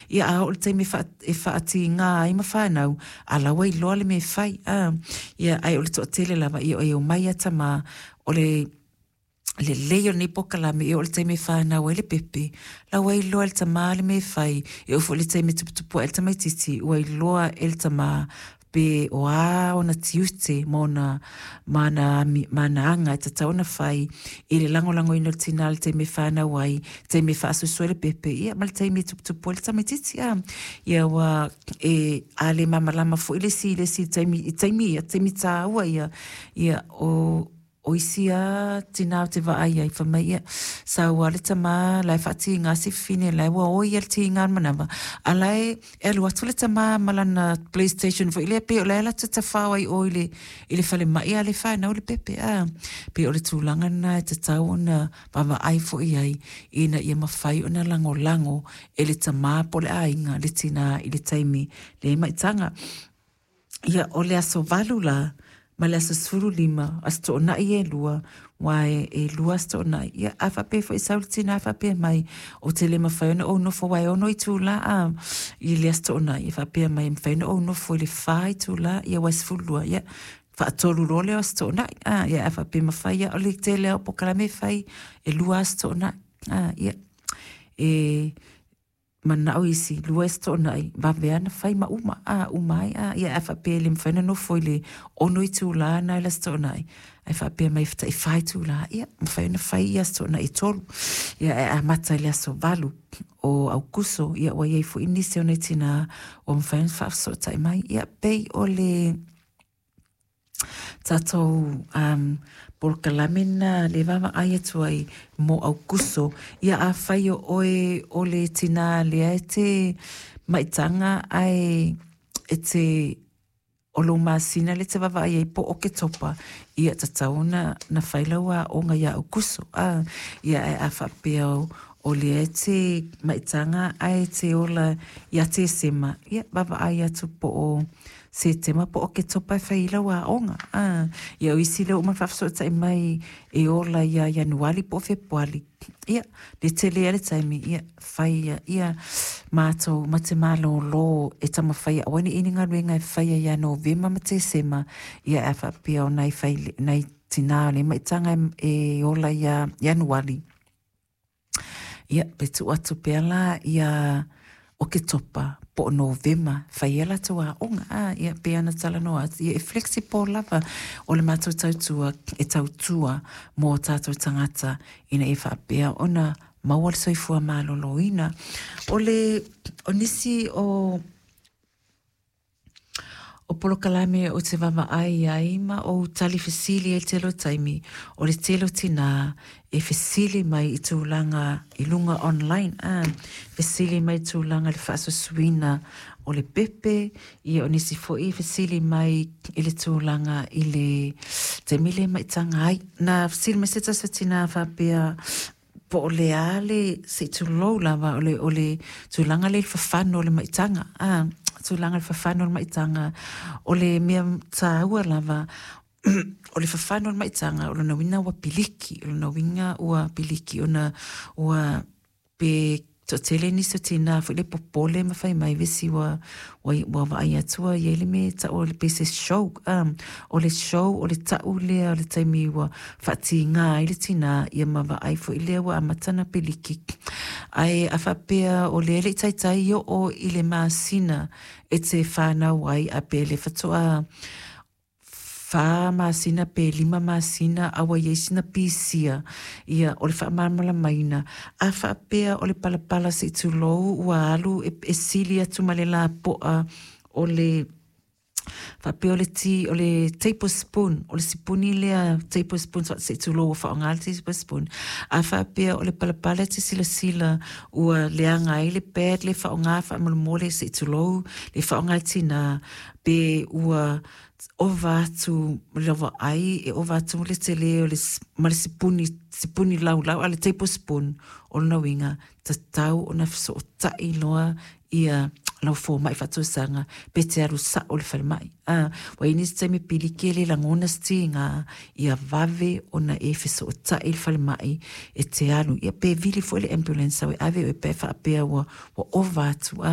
Ia a oo i le taimi e faatiga ai ma fanau, a la ua iloa le mea e fai, a. Ia ae o le toatele lava, ia e omai lava tama, o le lelei o lenei polokalame e oo i le taimi e fanau ai le pepe, la ua iloa e le tama le mea e fai, e oo foi i le taimi e tuputupu ae ai le tamaitiiti, ua iloa e le tama pe o a ona tiute ma ona ma ana aga e tatau ona fai i le lagolagoina o le tina i le taimi e fanau ai, taimi e faasoasoa ai le pepe, ia ma le taimi e tuputupu ai le tamaitiiti. A, ia ua e a le malamalama foi le isi i le isi taimi i taimi ia, taimi taua ia, ia o O isi lava tina ou te vaai ai, fai mai, ia, sau lava le tama la e faatiga si fafine, la ua oi lava le tiga o le manava, a o la e alu atu le tama ma lana playstation foi lea pei o la e alu atu e tafao ai i o i le falemai a o lea e fanau le pepe, a. Pei o le tulaga lena e tatau ona vaavaai foi i ai ina ia mafai ona lagolago e le tama po o le aiga le tina i le taimi le maitaga. Ia, o le aso 8 la, ma le aso 15, aso Toonai e 2, aua e 2 aso Toonai. Ia, a faapea foi e sau le tina faapea mai, ou te le mafai ona ou nofo aua e 6 itula a, i le aso Toonai, e faapea mai e mafai ona ou nofo i le 4 itula, ia aua e 12, ia, faatolu loa lea o aso Toonai. A, ia, a faapea e mafai lava, o le tele lava o polokalame e fai, e 2 aso Toonai. A, ia, e manao isi, 2 aso Toonai, vave lava ona fai ma uma, a, uma ai, a, ia, a faapea e le mafai ona nofo i le 6 itula lena i le aso Toonai, ae faapea mai e tai 4 itula, ia, mafai ona fai ia aso Toonai e 3. Ia, ae amata i le aso 8 o Aukuso, ia, ua i ai foi nisi o nai tina ua mafai ona faafesootai mai. Ia, pei o le tatou polokalame lena lea e vaavaai atu ai mo Aukuso. Ia afai o oe o le tina lea e te maitaga ae e te o lou masina lea e te vaavaai ai po o Oketopa, ia tatau ona na fai lau aoga ia Aukuso. A, ia ae a faapea o lea e te maitaga ae te ola ia Tesema, ia vaavaai atu po o Setema po o Oketopa e fai ai lau aoga. A, ia o isi lea ua uma ona faafesootai mai e ola ia Ianuali po o Fepuali, ia, le tele lava le taimi, ia, fai ia, ia matou ma te malōlō e taumafai e aua ne i i ai ni galuega e faia ia Novema ma Tesema, ia ae a faapea o nai fai, nai tina o lea maitaga e ola ia Ianuali, Ia, pe tuu atu pea la ia Oketopa po o Novema fai ai latou aoga. A, ia, pei ona talanoa atu, ia e flexible lava o le matou tautua e tautua mō tātou tagata ina ia faapea ona maua le soifua maloloina. O le, o nisi o O polokalame ou te vaavaai ai ma ou tali fesili ai i le tele o taimi, o le tele o tinā e fesili mai i tulaga i luga online, a, fesili mai i tulaga i le faasoasoaina o le pepe, ia o nisi foi e fesili mai i le tulaga i le taimi lea e maitaga ai. Na fesili mai se tasi o tinā faapea, po o le a le, se i tulou lava, o le, o le tulaga lea i le fafano o le maitaga, a, tulaga i le fafano o le maitaga, o le mea taua lava, o le fafano o le maitaga, o lona uiga ua piliki, o lona uiga ua piliki ona ua pe toatele nisi o tina foi lea popole ma fai mai vesi ua ua, ua vaai atu ua i ai le mea e tau o le pei se show o le show o le tau lea o le taimi ua faatiga ai le tina ia ma vaai foi lea ua amata ona piliki. Ae a faapea o lea e le i taitai oo i le masina e te fanau ai a pe le faatoa 4 masina pe 5 masina a ua i ai sina pisia, ia, o le faamalamalamaina, a faapea o le palapala se i tulou ua alu e, e sili atu ma le lapoa o le faapea o le ti, o le tablespoon, o le sipuni lea tablespoon se i tulou ua faaaoga le tablespoon, a faapea o le palapala e te silasila ua leaga ai le pad lea e faaaoga faamolemole se i tulou le faaaoga e le tina, pe ua ova atu le vaai e ova atu le tele o le ma le sipuni sipuni laulau a le tablespoon o lona uiga tatau ona fesootai loa ia lau fomai faatausaga pe te alu sao i le falemai a ua i ai nisi taimi piliki e le lagona se tiga ia vave ona e fesootai i le falemai e te alu ia pe vili foi le ambulance au e ave oe pe a faapea ua ova atu a.